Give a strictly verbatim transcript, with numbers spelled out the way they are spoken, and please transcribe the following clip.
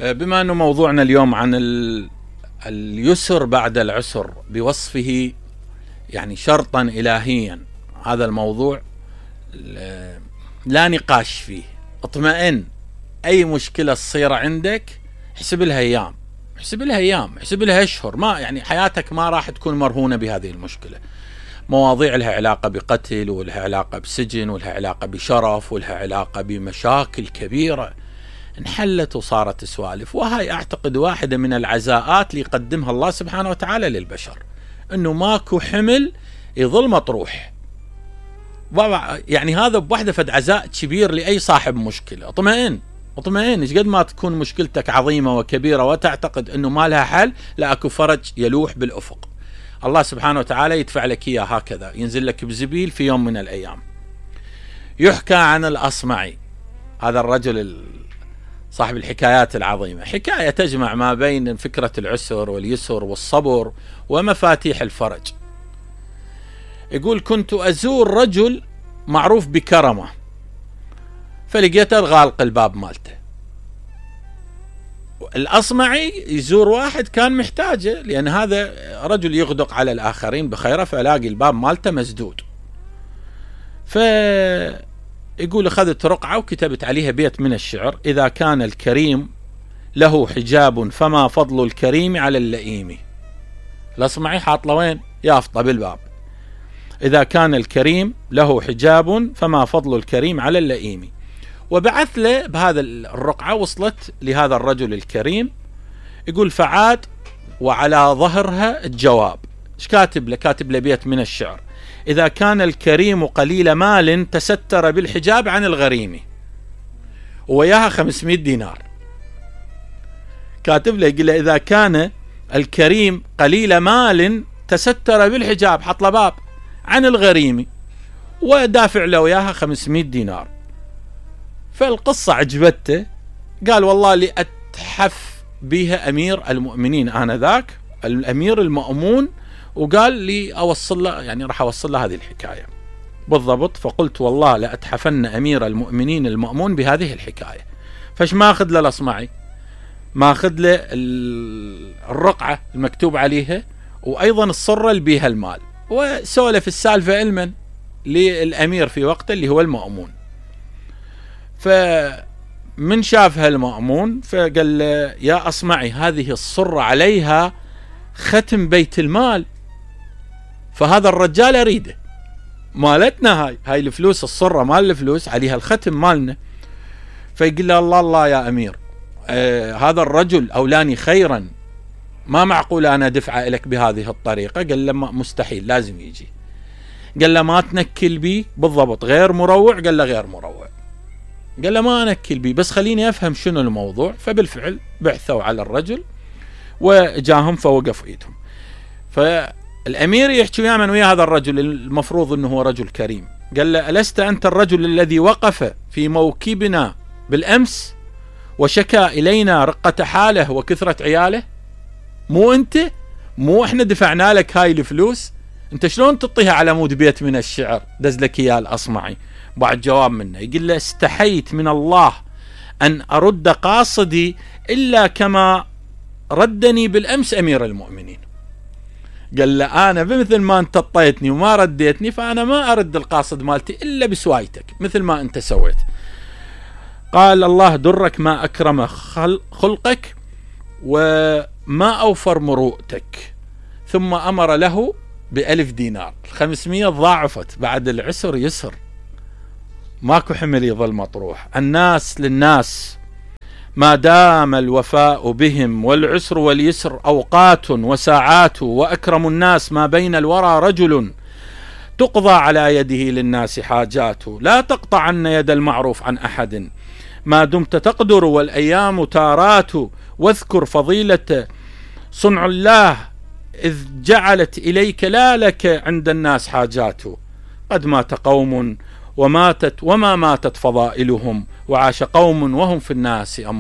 بما أنه موضوعنا اليوم عن اليسر بعد العسر بوصفه يعني شرطا إلهيا، هذا الموضوع لا نقاش فيه. اطمئن، أي مشكلة تصير عندك حسب لها أيام، حسب لها أيام، حسب لها أشهر، ما يعني حياتك ما راح تكون مرهونة بهذه المشكلة. مواضيع لها علاقة بقتل، ولها علاقة بسجن، ولها علاقة بشرف، ولها علاقة بمشاكل كبيرة انحلت وصارت سوالف. وهي أعتقد واحدة من العزاءات اللي يقدمها الله سبحانه وتعالى للبشر، أنه ماكو حمل يظل مطروح. يعني هذا بوحدة فد عزاء كبير لأي صاحب مشكلة. اطمئن اطمئن، ايش قد ما تكون مشكلتك عظيمة وكبيرة وتعتقد أنه ما لها حل، لا أكو فرج يلوح بالأفق. الله سبحانه وتعالى يدفع لك إياه هكذا، ينزل لك بزبيل في يوم من الأيام. يحكى عن الأصمعي، هذا الرجل صاحب الحكايات العظيمة، حكاية تجمع ما بين فكرة العسر واليسر والصبر ومفاتيح الفرج. يقول: كنت أزور رجل معروف بكرمه، فلقيته غالق الباب مالته. الأصمعي يزور واحد كان محتاجه، لأن هذا رجل يغدق على الآخرين بخيره، فلاقي الباب مالته مسدود. فيقول: أخذت رقعة وكتبت عليها بيت من الشعر: إذا كان الكريم له حجاب فما فضل الكريم على اللئيم. الأصمعي حاط له وين؟ يافطة بالباب. إذا كان الكريم له حجاب فما فضل الكريم على اللئيم. وبعث له بهذا الرقعة، وصلت لهذا الرجل الكريم. يقول: فعاد وعلى ظهرها الجواب. ايش كاتب له؟ كاتب له بيت من الشعر: إذا كان الكريم قليل مال تستر بالحجاب عن الغريم. وياها خمسمائة دينار. كاتب له يقول له: إذا كان الكريم قليل مال تستر بالحجاب، حط له باب عن الغريم، ودافع له وياها خمسمائة دينار. فالقصة عجبته، قال: والله اللي أتحف بها أمير المؤمنين آنذاك، الأمير المأمون، وقال لي أوصل له، يعني راح أوصل له هذه الحكاية بالضبط. فقلت: والله لأتحفن أمير المؤمنين المأمون بهذه الحكاية. فش ما أخذ له الأصمعي؟ ما أخذ له الرقعة المكتوب عليها، وأيضا الصرة اللي بيها المال، وسولف السالفة علما للأمير في وقته اللي هو المأمون. فمن شافها المأمون فقال له: يا أصمعي، هذه الصرة عليها ختم بيت المال، فهذا الرجال أريده، مالتنا هاي هاي الفلوس، الصرة مال الفلوس عليها الختم مالنا. فيقول له: الله الله يا أمير، آه هذا الرجل أولاني خيرا، ما معقول أنا دفعه لك بهذه الطريقة. قال له: مستحيل، لازم يجي. قال له: ما تنكل بي بالضبط، غير مروع؟ قال له: غير مروع. قال له: ما أنكل بي، بس خليني أفهم شنو الموضوع. فبالفعل بعثوا على الرجل وجاهم فوقف إيدهم. فالأمير يحكي ويا من ويا هذا الرجل، المفروض أنه هو رجل كريم. قال له: ألست أنت الرجل الذي وقف في موكبنا بالأمس وشكى إلينا رقة حاله وكثرة عياله؟ مو أنت؟ مو إحنا دفعنا لك هاي الفلوس؟ أنت شلون تطيها على مود بيت من الشعر دز لك إياه الأصمعي؟ بعد جواب منه يقول له: استحيت من الله أن أرد قاصدي إلا كما ردني بالأمس أمير المؤمنين. قال له: أنا بمثل ما أنت طيتني وما رديتني، فأنا ما أرد القاصد مالتي إلا بسوايتك مثل ما أنت سويت. قال: الله درك ما أكرم خلقك وما أوفر مروءتك. ثم أمر له بألف دينار. الخمسمية ضاعفت، بعد العسر يسر، ماكو حمل يظل مطروح. الناس للناس ما دام الوفاء بهم، والعسر واليسر أوقات وساعات، وأكرم الناس ما بين الورى رجل تقضى على يده للناس حاجات. لا تقطعن يد المعروف عن أحد ما دمت تقدر، والأيام تارات. واذكر فضيلة صنع الله إذ جعلت إليك لا لك عند الناس حاجات. قد مات قوم وماتت وما ماتت فضائلهم، وعاش قوم وهم في الناس أموات.